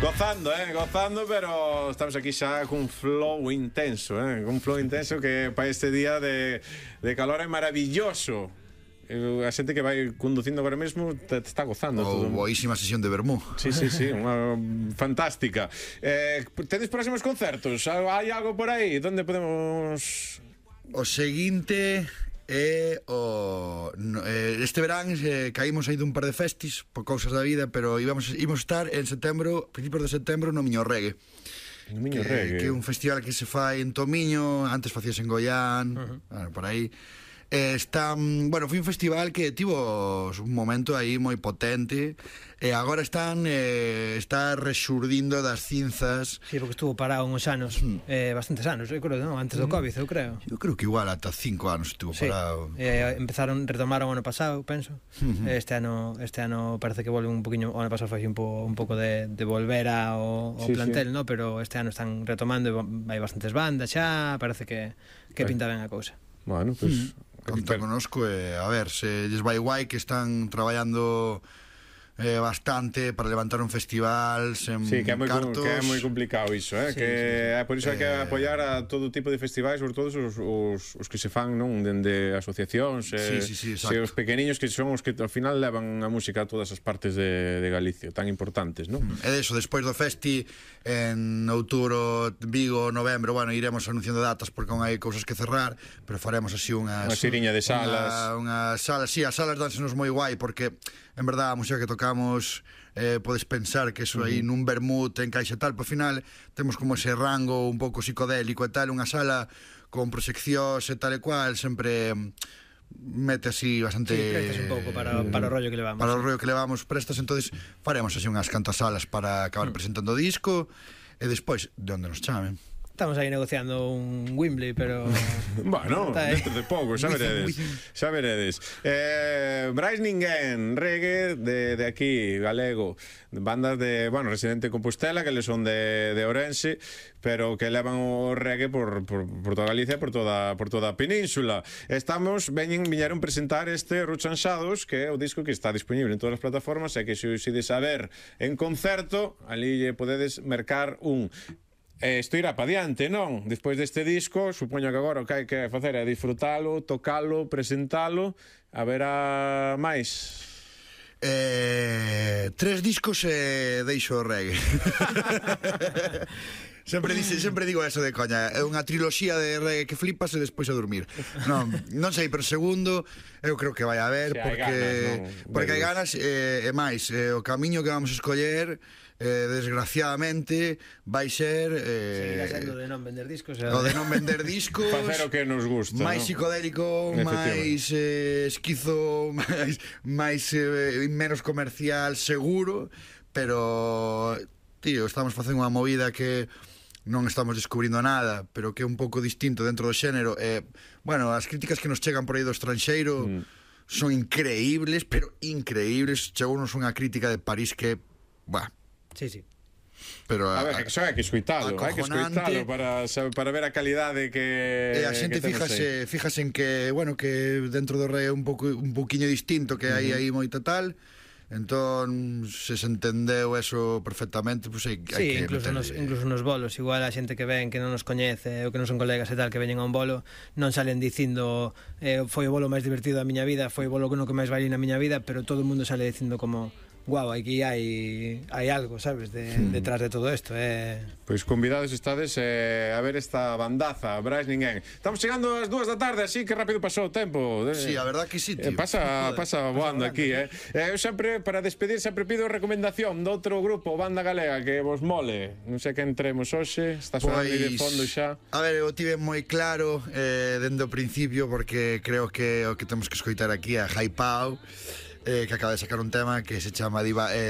Gozando, pero estamos aquí xa cun flow intenso, un flow intenso que para este día de calor é maravilloso. A xente que vai conducindo agora mesmo te está gozando todo. Boísima sesión de vermú. Sí, unha fantástica. Tedes próximos concertos? Hai algo por aí? Donde podemos... O seguinte é este verán caímos aí dun par de festis por cousas da vida, pero íbamos estar en setembro, principios de setembro, no Miño Reggae. No Miño Reggae, que é un festival que se fai en Tomiño, antes facías en Goián, bueno, por aí. Foi un festival que tivo un momento aí moi potente e agora está resurdindo das cinzas. Sí, porque estuvo parado uns anos, bastantes anos, eu creo, non? Antes do Covid, eu creo. Eu creo que igual ata 5 anos estuvo parado. Retomaron o ano pasado, penso. Este ano parece que volve un poquinho, o ano pasado foi un pouco de volver ao plantel, no? Pero este ano están retomando, hai bastantes bandas xa, parece que pinta ben a cousa. Bueno, pois conta conosco e a ver se lles vai guai, que están traballando bastante para levantar un festival sen cartos. Que é moi complicado iso, que é por iso hai que apoiar a todo tipo de festivais, sobre todo os que se fan, non, dende asociacións, os pequeniños que son os que ao final levan a música a todas as partes de Galicia, tan importantes, non? E deso, despois do festi en outubro, Vigo, novembro, bueno, iremos anunciando datas porque non hai cousas que cerrar, pero faremos así unha xiriña de salas. Unha sala, sí, as salas dansenos moi guai porque en verdad a música que tocamos podes pensar que eso aí nun vermut encaixa tal, pero ao final temos como ese rango un pouco psicodélico e tal, unha sala con proxeccións e tal e cual sempre mete así bastante... Sí, prestas un pouco para o rollo que levamos. Para o rollo que levamos prestas, entonces faremos así unhas cantas salas para acabar presentando o disco e despois de onde nos chamen. Estamos aí negociando un Wembley, pero... Bueno, dentro de pouco, xa veredes. Brais Ninguén, reggae de aquí, galego, bandas de, bueno, residente de Compostela, que le son de Ourense, pero que levan o reggae por toda Galicia, por toda a península. Viñeron presentar este Ruchan Shadows, que é o disco que está disponible en todas as plataformas, e que se ides a ver en concerto, ali podedes mercar un... Isto irá pa diante, non? Despois deste disco, supoño que agora o que hai que facer é disfrutalo, tocalo, presentalo. Haberá máis? 3 discos e deixo o reggae. Sempre digo eso de coña. É unha triloxía de reggae que flipas e despois a dormir. Non sei, pero segundo eu creo que vai haber, porque hai ganas e máis, o camiño que vamos a escoller desgraciadamente vai ser seguirá sendo de non vender discos, o de non vender discos, facer o que nos gusta, máis psicodélico, máis esquizo, máis menos comercial, seguro, pero tío, estamos facendo unha movida que non estamos descubrindo nada, pero que é un pouco distinto dentro do xénero. Bueno, as críticas que nos chegan por aí do estranxeiro son increíbles, pero increíbles. Chegounos unha crítica de París que, Sí. Pero a ver, xa hai que escoitalo para ver a calidade que a xente fíjase en que, bueno, que dentro do rei é un pouquiño distinto, que hai aí moita tal. Entón, se entendeu eso perfectamente, pues hai que incluso nos bolos, igual a xente que ven que non nos coñece ou que non son colegas e tal, que veñen a un bolo, non salen dicindo foi o bolo máis divertido da miña vida, foi o bolo no que máis bailei na miña vida, pero todo o mundo sale dicindo como guau, aquí hai algo, sabes, detrás de todo isto. Pois convidados estades a ver esta bandaza, Brais Ninguén. Estamos chegando ás 2 da tarde, así que rápido pasou o tempo. Sí, a verdad que sí, tío. Pasa voando aquí, Eu sempre, para despedir, sempre pido recomendación de outro grupo, banda galega, que vos mole. Non sei que entremos hoxe, está sonando aí de fondo xa. A ver, eu tive moi claro dende o principio, porque creo que o que temos que escoitar aquí é Hypao, que acaba de sacar un tema que se chama